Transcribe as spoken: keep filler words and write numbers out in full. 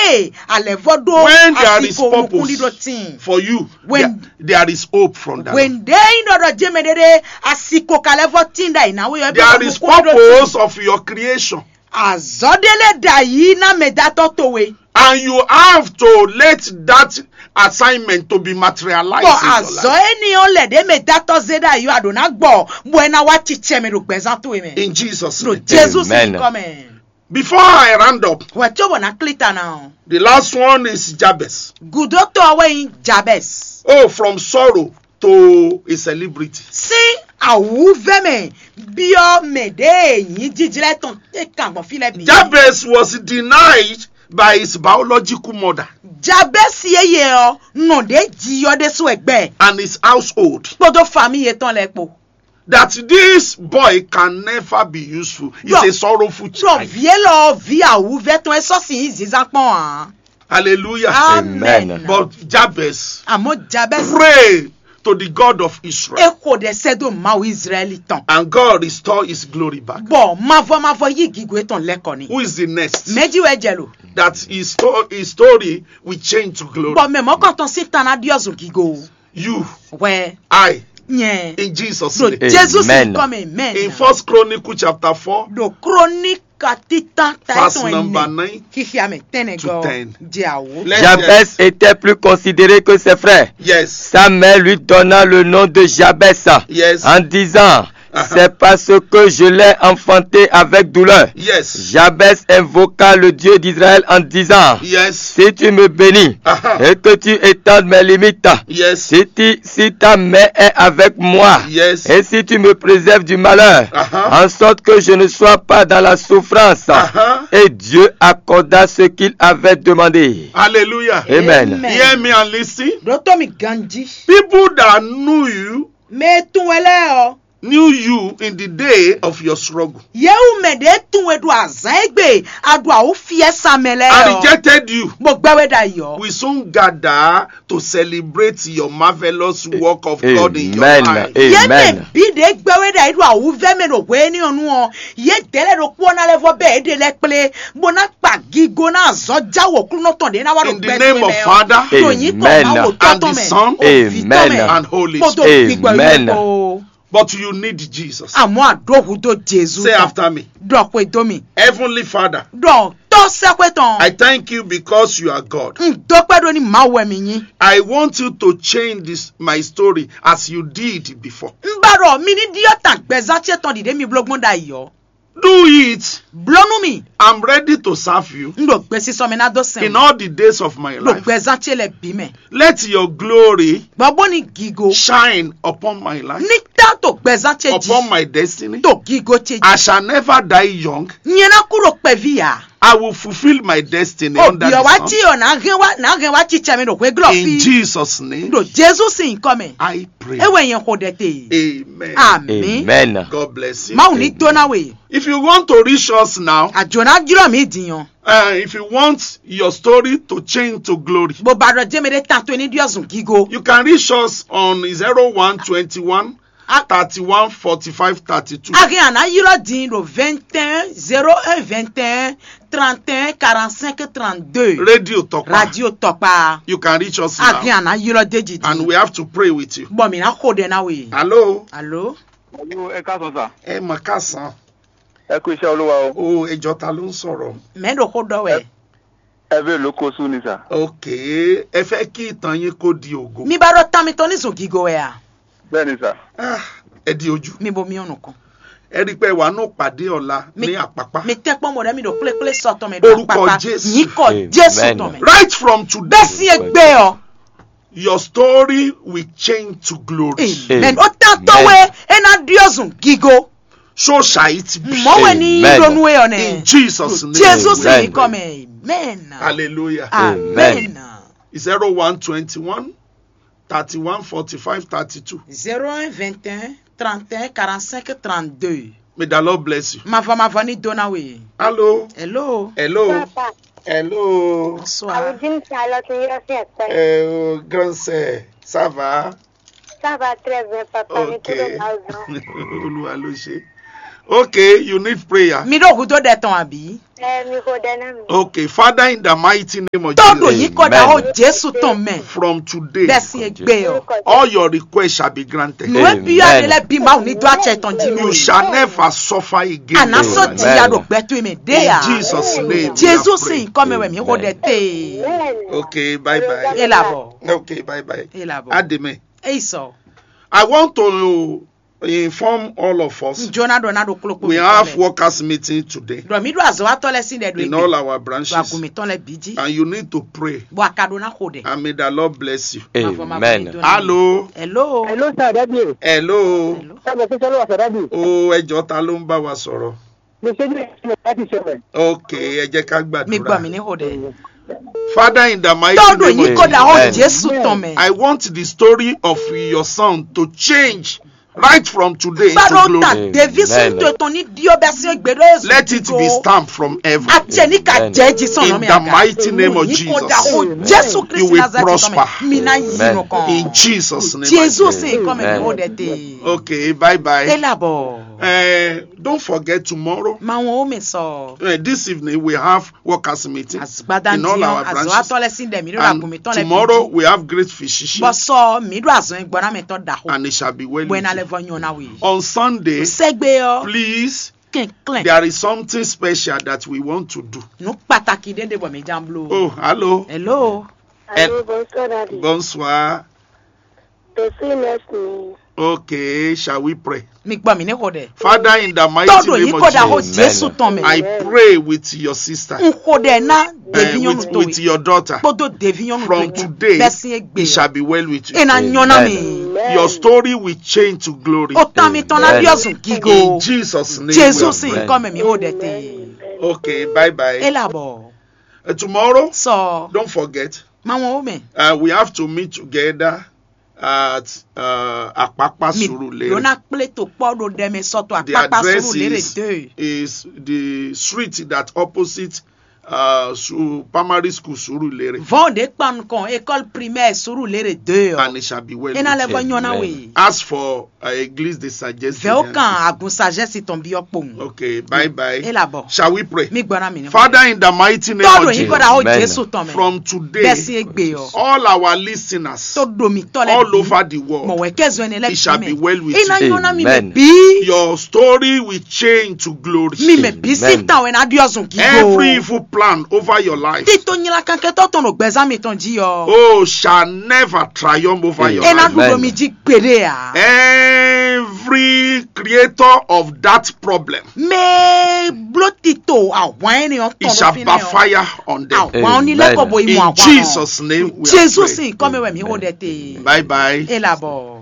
Ee, alɛvɔ ɖó When there is asiko purpose nukúnɖíɖó tíin. For you, When there, there is hope from that. When ɖé nyí ɖɔ ɖɔ jɛmɛ ɖé ɖé asiko ka lɛ́ vɔ tíin ɖ'ayǐ ná we ɔ́, There is purpose of your creation. Azɔ̌ ɖé lɛ́ ɖ'ayǐ ná mɛdatɔ́ towe. And you have to let that assignment to be materialized. Bɔ in your life. Azɔ̌ énɛ́ ɔ́ lɛ ɖě mɛdatɔ́ zé ɖ'ayǐ ɔ́, a ɖǒ ná gbɔ, bɔ é ná wá cicɛ mɛ ɖo gbɛzán towe mɛ. In Jesus' Ɖo name. Jezu sín Amen. Nyǐkɔ mɛ. Before I round up, Hwɛ cóbɔ ná klí ta ná ɔ́, the last one is Jabez. Gǔdótɔ́ ɔ́ wɛ nyí Jabɛs. Oh, from sorrow to a celebrity. Sín awǔvɛ́ mɛ byɔ́ mɛ ɖě e nyǐ jijlɛ́ tɔn é kan gbɔn fí lɛ́ɛ bǐ. Jabez was denied by his biological mother. Jabɛsi yeye ɔ́ nɔ ɖě ji ɔ́ ɖésú wɛ gbɛ. And his household. Kpódó famille yětɔn lɛ́ɛ kpó. That this boy can never be useful. It's Ɖɔ- a sorrowful Ɖɔ child. Vǐ élɔ́ ɔ́, vǐ awǔvɛ́ tɔn é sɔ́ sin nyí zǐnzán kpɔ́n ǎ. Hallelujah. Amen. Amen. But Jabez Àmọ́ Jabɛs prayed to the God of Israel. É xo ɖɛ sɛ́ dó Mawu Israɛli tɔn. And God restored his glory back. Bɔ mavɔ mavɔ yí gǐgó étɔn lɛ́ kɔ ni. Who is the next? Mɛ̌ jí wɛ jɛ lo? That his, sto- his story will change to glory. Bɔ mɛ mɔ̌kɔntɔn sín tan ná ɖyɔ́ zun gígo. You, Hwɛ I, nyɛ. In Jesus' Ɖo name. Jesu Amen. Sin kɔ mɛ mɛ. In First Chronicle chapter four, Ɖo Kronika títán ta verse étɔn number ɛnɛ. Nine Xixia mɛ tɛnɛ to gɔ ten. Jɛ awo. Let's Jabez get- était plus considéré que ses frères. Yes. Sa mère lui donna le nom de Jabez Yes. En disant, c'est parce que je l'ai enfanté avec douleur. Yes. Jabez invoqua le Dieu d'Israël en disant, Yes. Si tu me bénis Aha. Et que tu étendes mes limites, Yes. Si, tu- si ta main est avec moi, Yes. Et si tu me préserves du malheur, Aha. En sorte que je ne sois pas dans la souffrance. Aha. Et Dieu accorda ce qu'il avait demandé. Hallelujah. Amen. Amen. Hear me and listen. Ɖótó mi ganjí. People that knew you Mɛ e tunwun wɛ lɛ́ɛ ɔ́, knew you in the day of your struggle. Yě wú mɛ ɖě tunwun e ɖo azǎn e gbe a ɖo awǔ fiɛ sa mɛ lɛ́ɛ And ɔ́, rejected you. Bó gbɛ́ we ɖ'ayǐ ɔ́. We soon gather to celebrate your marvelous work of God in your Amen. Life. Yě mɛ Amen. Bǐ ɖě gbɛ́ we ɖ'ayǐ ɖo awǔvɛ́ mɛ ɖo hwenu énɛ́ ɔ́ nu ɔ́, yědɛɛ lɛ́ɛ ɖokpó ɔ́ ná lɛ́ vɔ bɛ́ yě ɖe lɛ́ kplé, bó ná kpa gigo ná azɔ̌ já wǒklúnɔ tɔn ɖě ná wá ɖo In the gbɛ name towe of mɛ ɔ́. Father Ɖo nyǐkɔ Amen. Mawu tɔn And the mɛ, Son Ovi tɔn mɛ, Amen. And Holy kpódó Spirit. Gbígbɔ Amen. Yíyí kpó. But you need Jesus. Àmọ́ àdóhùn dó Jezu Say tán. After me. Ɖɔ xwedó mi. Heavenly Father, Ɖɔ tɔ́ sɛ́xwé tɔn. I thank you because you are God. Un dó kpɛ́ ɖó ní Mawu wɛ mi nyí. I want you to change this my story as you did before. Un ba ɖɔ mi ní ɖyɔ́ tan gbɛzán ce tɔn ɖiɖe mi bló gbɔn ɖ'ayǐ ɔ́. Do it. Bló nú mi. I'm ready to serve you. Un ɖo gbesisɔ mɛ ná dó sɛn. In all the days of my life. Ɖo gbɛzán ce lɛ bǐ mɛ. Let your glory Bɔ bó ní gigo. Shine upon my life. Ní tá to gbɛzán ce jí. Upon my destiny. To gigo ce jí. I shall never die young. Nyɛ ná kú ɖo kpɛví ǎ. I will fulfill my destiny. Òbí ọ̀ wá jí ọ̀ nà hɛn wá nà hɛn wá cí cɛmɛ ɖo hwé glɔ fi. In Jesus' name. Ɖo Jezu sín nyǐkɔ mɛ. I pray. É wɛ nyɛ xo ɖɛ te. Amen. Àmín. Amen. God bless you. Mawu ní dó ná we. If you want to reach us now, Àjò ná jlɔ́ mí dìnyɔn. Uh, if you want your story to change to glory, Bó ba ɖɔ jẹ́ mɛ ɖé tan tó ní ɖíɔ̀sùn gígo. You can reach us on zero one twenty-one thirty-one forty-five thirty-two. A hɛn àná ylɔ́ din ɖo vingt et un zéro un vingt et un trente et un quarante-cinq trente-deux. Radio Tokpa. Radio Tokpa. You can reach us now. A hɛn àná ylɔ́ déjì din. And we have to pray with you. Bɔ mǐ ná xo ɖɛ ná we. Hello. Alo. Alo, ẹ káàsán sà. Ẹ mà káàsán. Ẹ kú iṣẹ́ Olúwa o. O, ẹ jọ, ta ló ń sọ̀rọ̀? Mɛ ɖo xó ɖɔ wɛ. Ẹ bẹ ló kó sú ni sà. Ok, ẹ fẹ́ kí ìtàn yín kó di ògo. Mi ba ɖɔ tan mitɔn ní zun gigo wɛ a? Bẹ́ẹ̀ ni sà. Ah, ẹ di ojú. Mi bo mi ò nùkún. Ẹ rí i pé wàá nù pàdé ọ̀la Mi- ní Àpápá. Mi tẹ́ kpɔ́n mọ̀ ɖẹ́ mi ɖo kplékplé sɔtɔn mɛ Orúkọ ɖo Jésù. Yín kɔ Amen. Jésù tɔn mɛ. Right from today, Bẹ́ẹ̀ sí egbé ọ. Your story will change to glory. Amen. Amen. Ó tán tó wé, é ná ɖíɔ̀zùn gígo. So shall it be. Mɔ̌ wɛ ní Amen. Ɖonu é ɔ nɛ. In Jesus' name. Jésù sì Amen. Ní kɔ mɛ. Amen. Hallelujah. Amen. Amen. Zero one twenty-one thirty-one forty-five thirty-two. Zéro un vingt et un trente et un quarante-cinq trente-deux. May the Lord bless you. Mavɔ mavɔ ní dó ná we. Hello. Hello. Hello. Papa. Hello. Bonsoir. Àwùjí ń ta lọ sí yọ sí ẹ̀pẹ́. Eh, oh, grand sir, ça va? Ça va très bien, papa. Mi Ok. Kúrò láwùjọ. Olúwa ló ṣe. Okay, you need prayer. Mi ɖo hudó ɖɛ tɔn àbí? Ẹ mi xo ɖɛ ná mi. Okay, Father, in the mighty name of Jesus. Tó ɖo yí kɔ ɖaxó Jésù tɔn mɛ. From today, bɛ́ sín égbé ɔ. All your requests shall be granted. Nǔ e byɔ́ ani lɛ́ɛ bí Mawu ní dó acɛ tɔn jí nú. You shall never suffer again. Àná sɔ́ jìyà ɖo gbɛtú mɛ ɖé in Jesus' name. Jésù sín nyǐkɔ mɛ wɛ mǐ xo ɖɛ tee. Okay, bye bye. É labɔ. Okay, bye bye. É labɔ. Ademe. Eyi sɔ. I want to inform all of us. Jona ɖɔ ná ɖo kplɔ́kpɔ. We have workers meeting today. Ɖɔ mí ɖo azɔ̌watɔ lɛ́ɛ sín ɖɛ ɖo in all our branches. Ɖo agun mǐtɔn lɛ́ɛ bǐ jí. And you need to pray. Bɔ a ka ɖó ná xo ɖɛ. And may the Lord bless you. Amen. Hello. Hello. Hello, sir, daddy. Hello. Sir, mo fẹ́ sọ́lọ́ wa, sir, daddy. O ẹjọ́, ta ló ń bá wa sọ̀rọ̀? Mo ṣe ní ìṣẹ̀lẹ̀ láti ṣẹlẹ̀. Ok, ẹ jẹ́ ká gbàdúrà. Mi gbọ́ mi ní xo ɖɛ. Father, in the mighty name of Jesus, tɔdɔ yín kó da hó Jésù tɔn mɛ. I want the story of your son to change right from today into glory. Gbàdúrà tàdéví sínú ètò ní díò bẹ́ẹ̀ sí gbèdó èso. Let it be stamped from heaven. Àti ẹni ká jẹ́ jí sọ̀nà mi àga. In the mighty name of Jesus, yín kó da hó Jésù Kristi Nazareth tɔn mɛ. Mi ná yí nù kàn. In Jesus' name. Jésù sì ń kọ́ mi ní ó dẹ̀ tè. Okay, bye bye. Ẹ làbọ̀. Eh, don't forget tomorrow. Màwọn ó mi sọ. Eh, this evening we have workers meeting in all our branches. Azɔatɔ lɛ sin dɛ mi ɖo agun mi tɔn lɛ. And tomorrow we have great physician. Bɔsɔ mi ɖo azɔn gbɔna mi tɔn da ho. And it shall be well with you. Bɔ ena lɛ vɔ nyɔ na we. On Sunday, sɛgbe ɔ, please, kɛnklɛn, there is something special that we want to do. Nu pataki ɖe ɖe bɔ mi jan blo. Oh, hello. Hello. Hello, bonsoir, Daddy. Bonsoir. Tòsí next mi. Okay, shall we pray? Mi gbọ́ mi ní xo dɛ. Father, in the mighty name of Jesus, tɔdɔ yìí kó da hó Jésù tɔn mɛ. I pray with your sister. N xo dɛ ná devi nyɔnu to with your daughter. Kpódó devi nyɔnu to. From today, bɛsi egbe, it shall be well with you. Ena nyɔ na mi. Your story will change to glory. O tan mi tɔn na bi ɔzun gigo. In Jesus' name. Jésù sì ń kọ́ mẹ́ mi xo dɛ te. Okay, bye bye. E labɔ. Uh, tomorrow, sɔ, don't forget, ma wọn o mɛ. Uh, we have to meet together at uh, Akpakpa Surulere. Lona kple to kpɔ ɖo ɖɛ mɛ sɔtɔ. The Akpakpa address Surulere is, de is the street that opposite uh, su, primary school Surulere. Vɔn de kpan nukɔn école primaire Surulere de ɔ. And it shall be well with you. Ena lɛ vɔ nyɔ na we. As for uh, Église de Sagesse. Vɛ o kan agun sagesse tɔn bi ɔ kpowun. Okay, bye bye. E labɔ. Shall we pray? Mi gbɔna mi ni. Father, in the mighty name of Jesus, tɔdɔ yìí kó da hó Jésù tɔn mɛ. From today, bɛsi egbe ɔ, all our listeners, to do mi tɔ lɛ all over the world, mɔ wɛ kɛ zɔn ne lɛ, it shall be well with you. Ena nyɔ na mi mɛ bi. Your story will change to glory. Mi mɛ bi si tan wɛ na di ɔzun gigo. Every evil plan over your life, tito nyila kankɛtɔ tɔn ɖo gbɛzan mi tɔn ji ɔ, oh, shall never triumph over your life. Ena ɖuɖɔ mi ji gbeɖe a. Every creator of that problem, mɛ blo tito ahwan ɛni ɔ tɔn, it shall backfire on them. Ahwan ni lɛ kɔ bo yi mɔ ahwan. In Jesus' name we are praying. Jésù sì ń kọ́ mi wɛ mi xo dɛ te. Bye bye. E labɔ.